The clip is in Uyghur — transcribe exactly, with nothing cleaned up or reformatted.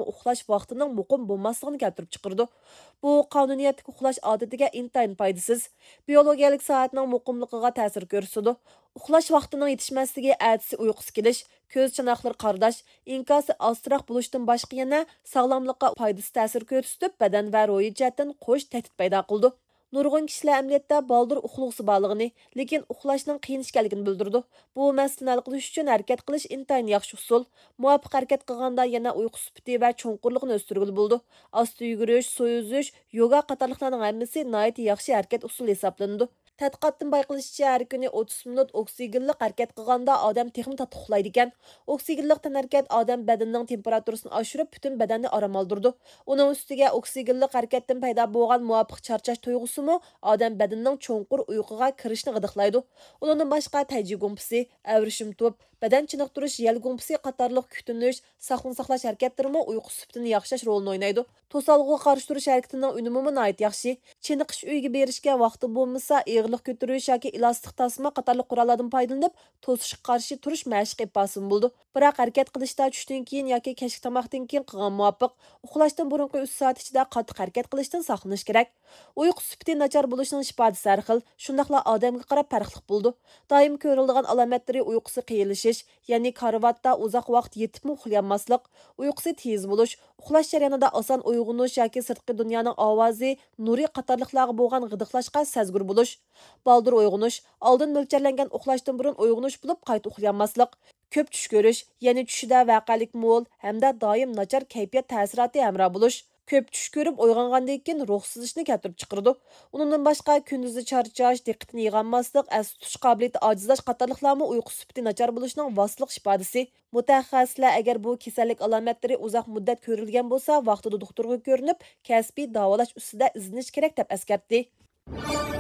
ئۇخلاش ۋاقتىنىڭ مۇقىم بولماسلىقىنى كەلتۈرۈپ چىقىرىدۇ. بۇ قانۇنىيەتلىك ئۇخلاش ئادىتىگە ئىنتايىن پايدىسىز، بىيولوگىيەلىك سائەتنىڭ مۇقىملىقىغا تەسىر كۆرسىتىدۇ. ئۇخلاش ۋاقتىنىڭ يېتىشمەسلىكى، ئەتىسى ئۇيقۇسى كېلىش، كۆز چاناقلىرى قارىداش، ئىنكاسى ئازراق بولۇشتىن باشقا يەنە ساغلاملىققا پايدىسىز تەسىر كۆرسىتىپ، بەدەن ۋە روھىي جەھەتتىن قوش تەھدىت پەيدا قىلىدۇ. نۇرغۇن كىشىلەر ئەمەلىيەتتە بالدۇر ئۇخلىغۇسى بارلىقىنى، لېكىن ئۇخلاشنىڭ قىيىن ئىكەنلىكىنى بىلدۈرىدۇ. بۇ مەسىلىنى ھەل قىلىش ئۈچۈن ھەرىكەت قىلىش ئىنتايىن ياخشى ئۇسۇل. مۇۋاپىق ھەرىكەت قىلغاندا يەنە ئۇيقۇ سۈپىتى ۋە چوڭقۇرلۇقىنى ئۆستۈرگىلى بولىدۇ. ئاستا يۈگۈرۈش، سۇ ئۈزۈش، يوگا قاتارلىقلارنىڭ ھەممىسى ناھايىتى ياخشى ھەرىكەت ئۇسۇلى ھېسابلىنىدۇ. تەتقىقاتتىن بايقىلىشىچە، ھەر كۈنى ئوتتۇز مىنۇت ئوكسىگېنلىق ھەرىكەت قىلغاندا ئادەم تېخىمۇ تاتلىق ئۇخلايدىكەن. ئوكسىگېنلىق تەنھەرىكەت ئادەم بەدىنىنىڭ تېمپېراتۇرىسىنى ئاشۇرۇپ، پۈتۈن بەدەننى ئارام ئالدۇرىدۇ. ئۇنىڭ ئۈستىگە ئوكسىگېنلىق ھەرىكەتتىن پەيدا بولغان مۇۋاپىق چارچاش تۇيغۇسىمۇ ئادەم بەدىنىنىڭ چوڭقۇر ئۇيقۇغا كىرىشىنى غىدىقلايدۇ. ئۇنىڭدىن باشقا تەيجى گۇڭپىسى، ئەۋرىشىم تۇپ، بەدەن چېنىقتۇرۇش يەل گۇڭپىسى قاتارلىق كۈتۈنۈش، ساقلىنىش ساقلاش ھەرىكەتلىرىمۇ ئۇيقۇ سۈپىتىنى ياخشىلاش رولىنى ئوينايدۇ. توسالغۇغا قارشى تۇرۇش ھەرىكىتىنىڭ ئۈنۈمىمۇ ناھايىتى ياخشى. چېنىقىش ئۆيىگە بېرىشكە ۋاقتى بولمىسا، ئېغىرلىق كۆتۈرۈش ياكى ئېلاستىك تاسما قاتارلىق قوراللاردىن پايدىلىنىپ، توسۇشقا قارشى تۇرۇش مەشىقى ئېلىپ بارسىمۇ بولىدۇ. بىراق ھەرىكەت قىلىشتا چۈشتىن كېيىن ياكى كەچلىك تاماقتىن كېيىن قىلغان مۇۋاپىق. ئۇخلاشتىن بۇرۇنقى ئۈچ سائەت ئىچىدە قاتتىق ھەرىكەت قىلىشتىن ساقلىنىش كېرەك. ئۇيقۇ سۈپىتى ناچار بولۇشنىڭ ئىپادىسى ھەر خىل، شۇنداقلا ئادەمگە قاراپ پەرقلىق بولىدۇ. دائىم كۆرۈلىدىغان ئالامەتلىرى ئۇيقۇسى قىيىنلىشىش، يەنى كارىۋاتتا ئۇزاق ۋاقىت يېتىپمۇ ئۇخلىيالماسلىق، ئۇيقۇسى تېز بولۇش، ئۇخلاش جەريانىدا ئاسان ئويغىنىش ياكى سىرتقى دۇنيانىڭ ئاۋازى، نۇرى قاتارلىقلارغا بولغان غىدىقلاشقا سەزگۈر بولۇش. بالدۇر ئويغىنىش، ئالدىن مۆلچەرلەنگەن ئۇخلاشتىن بۇرۇن ئويغىنىش بولۇپ، قايتا ئۇخلىيالماسلىق. كۆپ چۈش كۆرۈش، يەنى چۈشىدە ۋەقەلىك مول ھەمدە دائىم ناچار كەيپىيات تەسىراتى ھەمراھ بولۇش. كۆپ چۈش كۆرۈپ ئويغانغاندىن كېيىن روھسىزلىشنى كەلتۈرۈپ چىقىرىدۇ. ئۇنىڭدىن باشقا، كۈندۈزى چارچاش، دىققىتىنى يىغالماسلىق، ئەستە تۇتۇش قابىلىيىتى ئاجىزلاش قاتارلىقلارمۇ ئۇيقۇ سۈپىتى ناچار بولۇشنىڭ ۋاسىتىلىق ئىپادىسى. مۇتەخەسسىسلەر ئەگەر بۇ كېسەللىك ئالامەتلىرى ئۇزاق مۇددەت كۆرۈلگەن بولسا، ۋاقتىدا دوختۇرغا كۆرۈنۈپ، كەسپىي داۋالاش ئۈستىدە ئىزدىنىش كېرەك، دەپ ئەسكەرتتى.